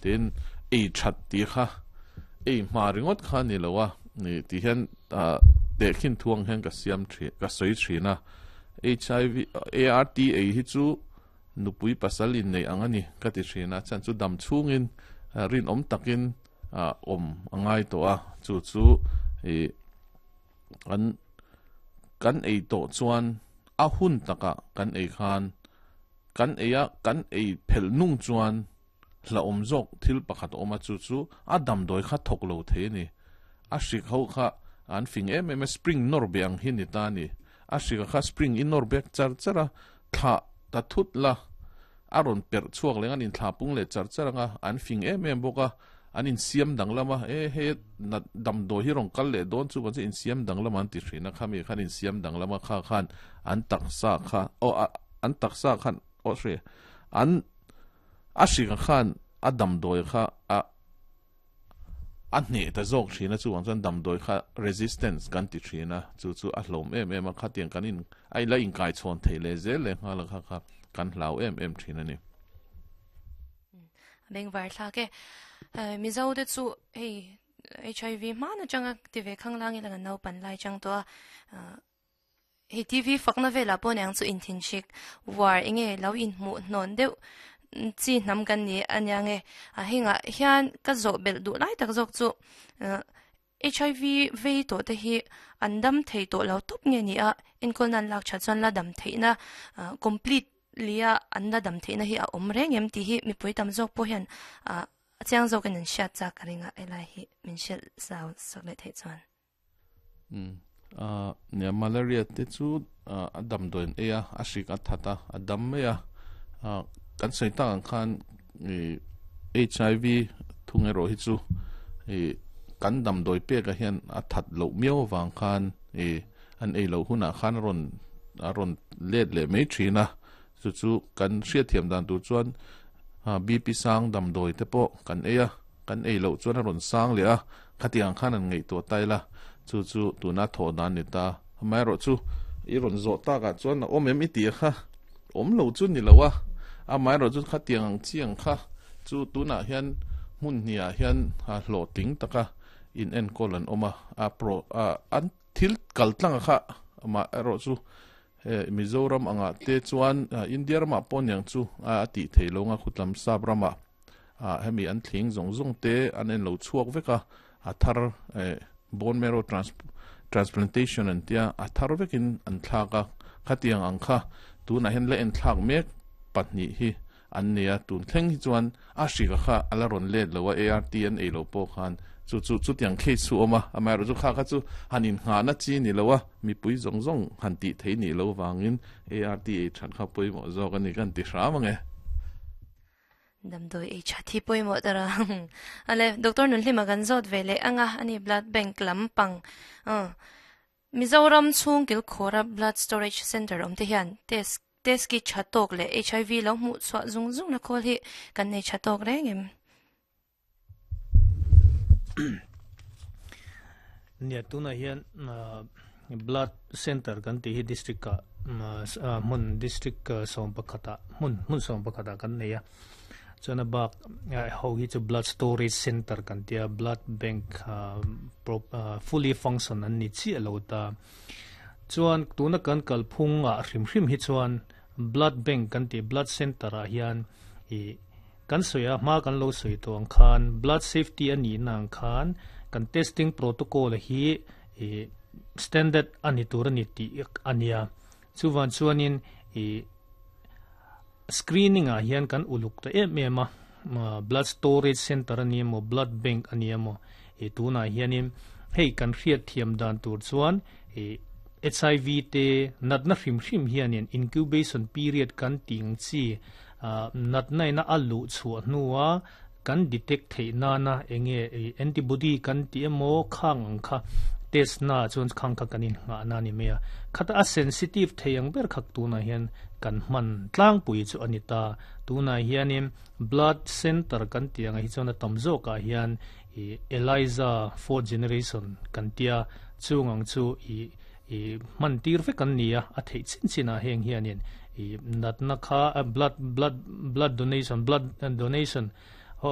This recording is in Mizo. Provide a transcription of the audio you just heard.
Tin, ei that tih kha ei hma ringawt kha a ni lo a, ti hian tehkhin thu ang hian ka siam thin, ka sawi thin a. HIV, ART ei hi chu nupui pasal inneih ang a ni ka ti thin a, chhan chu dam chhungin rinawm takin awm a ngai tawh a, chu chu ih an kan ei tawh chuan a hun takah kan ei khan kan ei a, kan ei phelh nung chuan hlauhawm zawk thil pakhat a awm a, chu chu a damdawi kha thawk lo thei a ni. A hrik ho kha an fing em em a, spring nawr beh ang hi ni ta a ni. A hrika kha spring i nawr bek char char a, thlah ta thut la, a rawn perh chhuak leh ang, an inthlah pung leh char char ang a, an fing em em bawk a, an insiam danglam a, e hei nat damdawi hi rawn kal leh dawn chu kan chu insiam danglam an ti thin a, khami khan insiam danglam a, kha khan an taksa kha aw an taksa khan aw hre an A hringa khan a damdawi kha a a hneh ta zawk thin a, chuvang chuan damdawi kha resistance kan ti thin a, chu chu a hlawm em em a, khatiang kan in a la inkaichhawn theih leh zel leh nghal a kha kha kan hlau em em thin a ni. A bengvar thlak e. Mizo te chu hei HIV hman atanga ti ve khanglang ila kan naupan lai chang tawh a. Hei TV fakna velah pawh niang chu inthinhrik war enge lo inhmuh hnawn deuh chi hnam kan ni a nia nge. A hengah hian ka zawh belh duh lai tak zawk chu HIV vei tawh te hi an dam thei tawh lo tawp nge ni a, enkawl nan lak that chuan la dam theihna complete lia an la dam theihna hi a awm reng em tih hi mipui tam zawk pawh hian a chiang zawkin an hriat chak ka ring a, helai hi min hrilh zau sak leh theih chuan. Nia malaria te chu a damdawi an ei a, a hrik a that a, a dam mai a. Kan sawi tak ang khan HIV thung erawh hi chu kan damdawi pekah hian a that loh miau avang khan an ei loh hunah khan a rawn a rawn let leh mai thin a. Chu chu kan hriatthiam dan tur chuan BP sang damdawi te pawh kan ei a. Kan ei loh chuan a rawn sang leh a, khatiang khan an ngaihtuah ta ila, chu chu tuna thawh dan ni ta. Amaherawhchu, i rawn zawh takah chuan a awm em i tih kha awm lo chu ni lo a, amaherawhchu khatiang ang chiang kha chu tunah hian hmun hniah hian hlawhtling taka in enkawl an awm a, a pro an thil kal tlang kha amaherawhchu he Mizoram angah te chuan India ramah pawh niang chu a tih theih lo anga khutlam sap ramah. ah hemi an thling zawng zawng te an en lo chhuak vek a, a thar eh bone marrow transplantation an tia a thar vekin an thlak a, khatiang ang kha tunah hian la en thlak mek pahnih hi an nei a, tun thleng hi chuan a hrika kha a la rawn let lo a, ART an ei lo pawh khan chu chu chutiang case chu a awm a, amaherawhchu kha kha chu han innghahna chi ni lo a, mipui zawng zawng han tih theih nih lo vangin ART ei that kha pawimawh zawk a ni ka han ti hram ang e. Damdawi ei that hi pawimawh ta ra. Ale, Doctor Nunhlima kan zawt ve leh anga ani blood bank lampang. Mizoram chhung kilkhawra blood storage center awm te hian test test kit tha tawk leh HIV lo hmuh chhuah zung zung na khawl hi kan nei tha tawk reng em? Nia tunah hian blood center kan tih hi district ah hmun district sawm pakhat ah hmun hmun sawm pakhat ah kan nei a chuan a bak ho hi chu blood storage center kan tia blood bank fully function an ni chiah lo ta chuan tuna kan kalphung ah hrim hrim hi chuan blood bank kan tih blood center ah hian ih Kan sawi a, hma kan lo sawi tawh ang khan blood safety a nihna ang khan kan testing protocol hi ih standard a ni tur a ni tih a nia. Chuvang chuanin ih screening ah hian kan uluk ta em em a, blood storage center a ni emaw blood bank a ni emaw ih tunah hianin hei kan hriat thiam dan tur chuan ih HIV te natna hrim hrim hianin incubation period kan tih ang chi Natna ina a luh chhuah hnua kan detect theih nana enge antibody kan tih emaw khang ang kha test na chuan khang kha kan innghah na a ni mai a. Khata a sensitive thei ang ber khak tunah hian kan hman tlangpui chu a ni ta. Tunah hianin blood center kan tih angah hi chuan a tam zawkah hian ih ELISA fourth generation kan tia chung ang chu ih I hman tir vek an ni a, a theih chin chin ah heng hianin i natna kha blood blood blood donation blood donation